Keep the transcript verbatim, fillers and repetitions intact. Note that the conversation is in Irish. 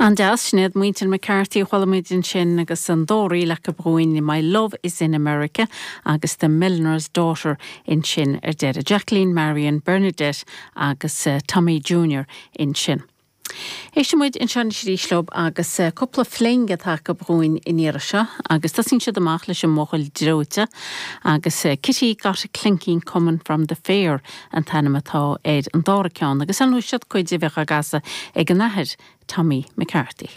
An-deas sin iad muintir McCarthy chuala muid ansin agus an dá ríl acu dhúinn My Love is in America agus The Milliner's Daughter ansin ar deireadh Jacqueline Marion Bernadette agus uh, Tommy Junior ansin. Éistfidh muid ansin arís leo agus uh, cúpla fling atá acu dhúinn an iarraidh seo, agus tá siad amach leis an mbuachaill dreoite agus uh, Kitty got a clinking coming from the fair an t-ainm atá ar an dara ceann, agus an siad cuid a bheith agasa ag an athair Tommy McCarthy.